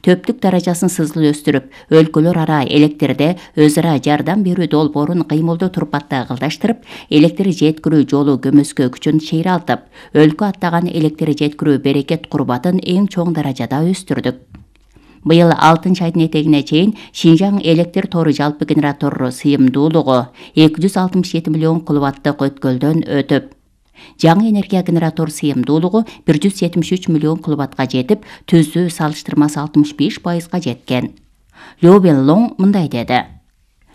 төптүк даражасын сызыл өстүрүп, өлкөлөр ара электрде өз ара жардам берүү долбоорун кыймылдуу турпатта кылдаштырып, электр жеткирүү жолу көмөскө күчүн чыйралтып, өлкө аттаган электр жеткирүү берекет курбатын эң чоң даражада өстүрдүк. Быйыл 6-айдын этегине чейин Шинжаң электр тору жалпы генератор сыйымдуулугу 267 миллион киловаттык өткөлдөн өтүп, жаңы энергия генератор сыйымдуулугу 173 миллион киловаттка жетип, түздүү салыштырмасы 65%га жеткен. Лю Бенлоң мындай деди: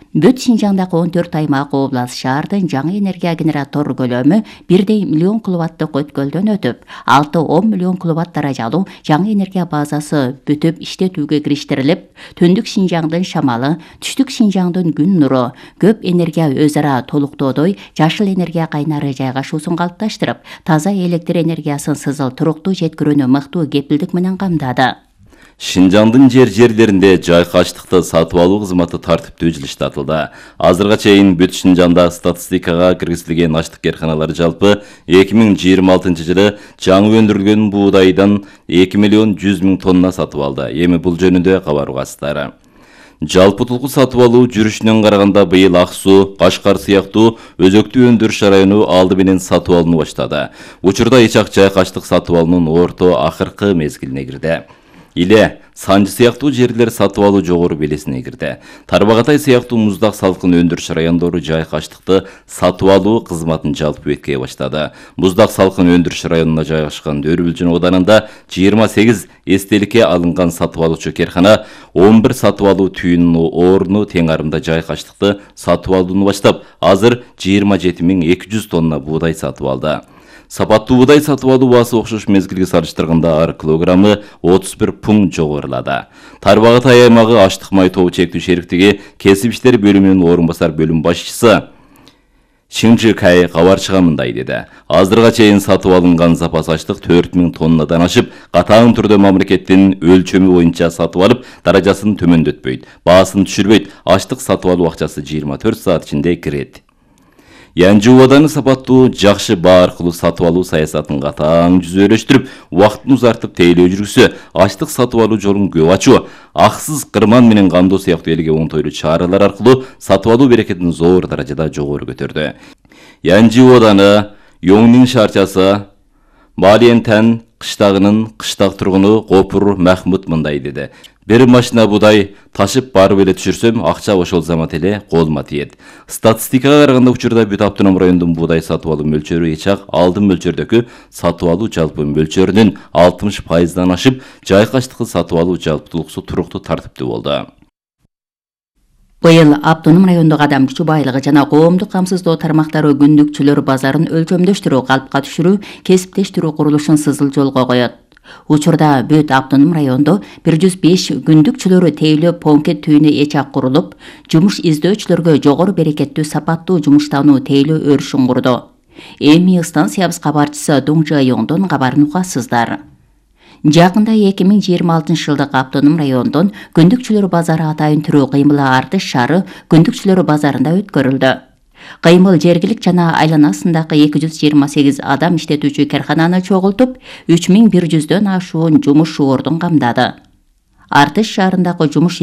Бүт Шинжаңдагы 14 аймак, область, шаардын жаңы энергия генератор көлөмү 1 миллион киловаттык өткөлдөн өтүп, 6-10 миллион киловатт даражалуу жаңы энергия базасы бүтүп иштетүүгө кириштирилип, түндүк Шинжаңдын шамалы, түштүк Шинжаңдын күн нуру, көп энергия өз ара толуктоодой жашыл энергия кайнары жайгашуусун калыпташтырып, таза электр энергиясын сызыл туруктуу жеткирүүнү мыктуу кепилдик менен камдады. Шинжаңдын жерлеринде жайкаштыкты сатып алуу кызматы тартиптүү жылыштатылды. Азырга чейин бүт Шинжаңда статистикага киргизилген аштык карканалары жалпы 2026 жылы жаңы өндүрүлгөн буудайдан 2 миллион 100 миң тонна сатып алды. Эми бул жөнүндө кабар угасыздар. Жалпы тулку сатып алуу жүрүшүнөн караганда быйыл Ак Суу, Кашкар сыяктуу өзөктүү өндүрүш району алды менен сатып алууну баштады. Учурда Ичак жайкаштык сатып алуунун орто акыркы мезгилине кирди. Иле, Санжы сыяктуу жерлер сатып алуу жогору белесине кирди. Тарбагатай сыяктуу муздак салкын өндүрүш райондору жайкаштыкты сатып алуу кызматын жалпы бекке баштады. Муздак салкын өндүрүш районуна жайгашкан Дөөрүлжүн ауданында 28 эстеликке алынган сатып алуучу каркана 11 сатып алуу түйүнүнүн орну тең арымда жайкаштыкты сатып алууну баштап, азыр 27.200 тонна буудай сатып алды. Сапаттуу буудай сатып алуу баасы окшош мезгилге салыштырганда ар килограммы 31 пункт жогорулады. Тарбагатай аймагы аштык май тобу чектүү шериктиги кесип иштери бөлүмүнүн орун басар бөлүм башчысы Шинжи Кай кабарчыга мындай деди: Азырга чейин сатып алынган запас аштык 4000 тоннадан ашып, катаң түрдө мамлекеттин өлчөмү боюнча сатып алып, даражасын төмөндөтпөйт, баасын түшүрбөйт, аштык сатып алуу акчасы 24 саат ичинде кирет. Янжы ооданы сапаттуу жакшы баа аркылуу сатып алуу саясатын катаң жүзөлөштүрүп, убакытын узартып тейлөө жүргүзсө, аштык сатып алуу жолун көп ачуу, аксыз кырман менен камдоо сыяктуу элге оңтойлуу чаралар аркылуу сатып алуу берекетин зор даражада жогору көтөрдү. Янжы ооданы Йоңнин шаарчасы Малиентен кыштагынын кыштак тургуну Копур Махмут мындай деди: Бир машина буудай ташып барып эле түшүрсөм, акча ошол замат эле колума тиет. Статистикага караганда учурда бүт автоном райондун буудай сатып алуу мөлчөрү Ичак алдын мөлчөрдөгү сатып алуу жалпы мөлчөрүнүн 60%дан ашып, жайкаштыкты сатып алуу жалпылыксу туруктуу тартиптүү болду. Быйыл автоном райондогу адам күчү байлыгы жана коомдук камсыздоо тармактары күндүкчүлөр базарын өлчөмдөштүрүү, калпка түшүрүү, кесиптештирүү курулушун сызыл жолго коет. Учурда бүт автоном райондо 105 күндүкчүлөрү тейлөө понкет түйүнү Ичак курулуп, жумуш издөөчүлөргө жогору берекеттүү сапаттуу жумуштануу тейлөө өрүшүн курду. Эми станциябыз кабарчысы Дуң Жайоңдон кабарын угасыздар. Жакында 2026 жылдык автоном райондон күндүкчүлөр базары атайын түрүү кыймылы артыш шаары күндүкчүлөр базарында өткөрүлдү. Кыймыл жергилик жана айланасындагы 228 адам иштетүүчү каркананы чогултуп, 3100дөн ашуун жумуш ордун камдады. Артыш шаарындагы жумуш